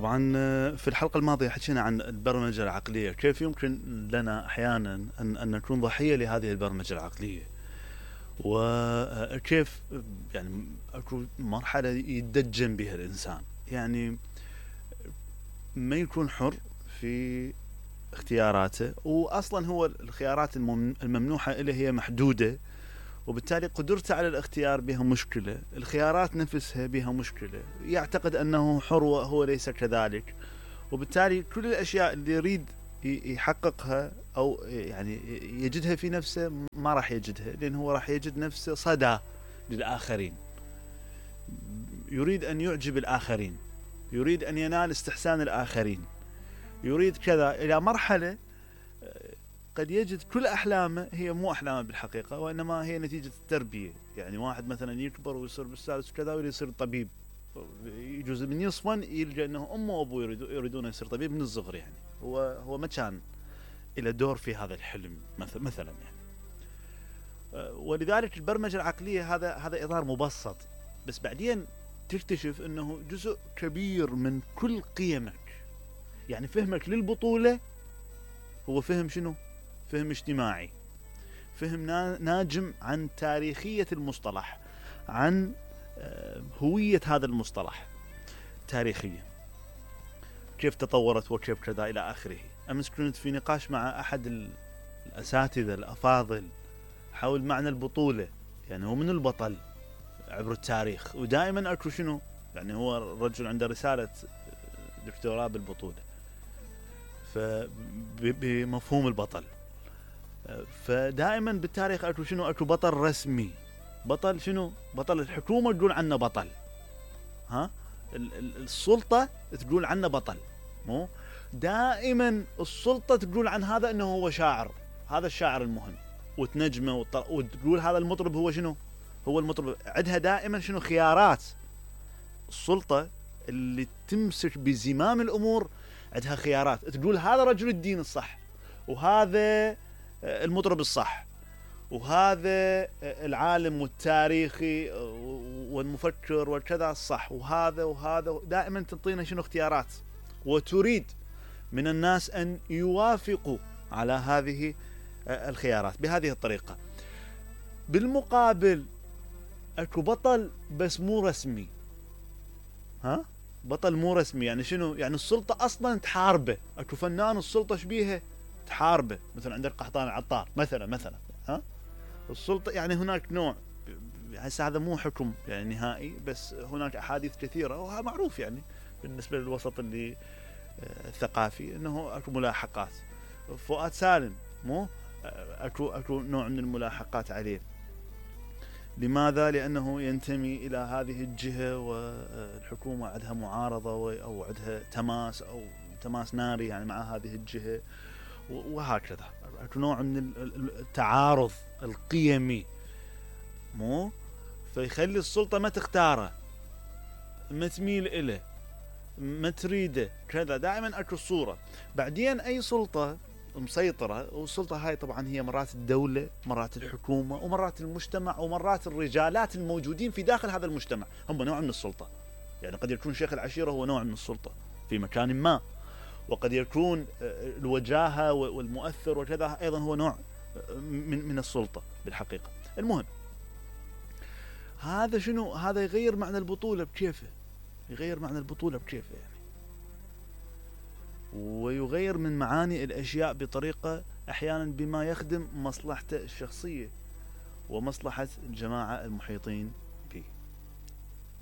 طبعا في الحلقة الماضية حكينا عن البرمجة العقلية، كيف يمكن لنا أحيانا أن نكون ضحية لهذه البرمجة العقلية، وكيف يعني أكو مرحلة يتدجن بها الإنسان، يعني ما يكون حر في اختياراته، وأصلا هو الخيارات الممنوحة إليه هي محدودة، وبالتالي قدرته على الاختيار بها مشكلة، الخيارات نفسها بها مشكلة، يعتقد أنه حر وهو ليس كذلك، وبالتالي كل الأشياء اللي يريد يحققها أو يعني يجدها في نفسه ما راح يجدها، لأنه هو راح يجد نفسه صدى للآخرين، يريد أن يعجب الآخرين، يريد أن ينال استحسان الآخرين، يريد كذا، إلى مرحلة قد يجد كل أحلامه هي مو أحلامه بالحقيقة، وإنما هي نتيجة التربية. يعني واحد مثلا يكبر ويصير بالسادس وكذا ويريد يصير طبيب، يجوز من يصفن يلقى أنه أمه وأبوه يريدون يصير طبيب من الصغر، يعني هو ما كان إلى دور في هذا الحلم مثلا يعني. ولذلك البرمجة العقلية هذا إطار مبسط، بس بعدين تكتشف أنه جزء كبير من كل قيمك، يعني فهمك للبطولة هو فهم شنو؟ فهم اجتماعي، فهم ناجم عن تاريخية المصطلح، عن هوية هذا المصطلح تاريخيا، كيف تطورت وكيف كذا إلى آخره. أمس كنت في نقاش مع أحد الأساتذة الأفاضل حول معنى البطولة، يعني هو من البطل عبر التاريخ، ودائما أكو شنو؟ يعني هو الرجل عنده رسالة دكتوراه بالبطولة، بمفهوم البطل، فدائما بالتاريخ اكو شنو؟ اكو بطل رسمي، بطل شنو؟ بطل الحكومة تقول عنه بطل، ها السلطة تقول عنه بطل، مو دائما السلطة تقول عن هذا انه هو شاعر، هذا الشاعر المهم، وتنجمه وتقول هذا المطرب هو شنو؟ هو المطرب. عندها دائما شنو؟ خيارات. السلطة اللي تمسك بزمام الامور عندها خيارات، تقول هذا رجل الدين الصح، وهذا المطرب الصح، وهذا العالم والتاريخي والمفكر والكذا الصح، وهذا دائما تعطينا شنو؟ اختيارات، وتريد من الناس أن يوافقوا على هذه الخيارات بهذه الطريقة. بالمقابل اكو بطل بس مو رسمي، ها بطل مو رسمي، يعني شنو؟ يعني السلطة أصلا تحاربه، اكو فنان السلطة شبيهه تحاربه، مثلا عندك قحطان العطار مثلا ها السلطة، يعني هناك نوع، هسه هذا مو حكم يعني نهائي، بس هناك أحاديث كثيرة وهذا معروف يعني بالنسبة للوسط اللي الثقافي، انه اكو ملاحقات. فؤاد سالم مو اكو نوع من الملاحقات عليه، لماذا؟ لأنه ينتمي إلى هذه الجهة والحكومة عندها معارضة أو عندها تماس ناري يعني مع هذه الجهة، وهكذا اكو نوع من التعارض القيمي، مو فيخلي السلطة ما تختاره، ما تميل إله، ما تريده كذا، دائما اكو صورة. بعدين أي سلطة مسيطرة، والسلطة هاي طبعا هي مرات الدولة، مرات الحكومة، ومرات المجتمع، ومرات الرجالات الموجودين في داخل هذا المجتمع هم نوع من السلطة. يعني قد يكون شيخ العشيرة هو نوع من السلطة في مكان ما، وقد يكون الوجاهة والمؤثر وكذا أيضا هو نوع من السلطة بالحقيقة. المهم هذا شنو؟ هذا يغير معنى البطولة بكيفه، يغير معنى البطولة بكيفه يعني، ويغير من معاني الأشياء بطريقة أحيانا بما يخدم مصلحته الشخصية ومصلحة الجماعة المحيطين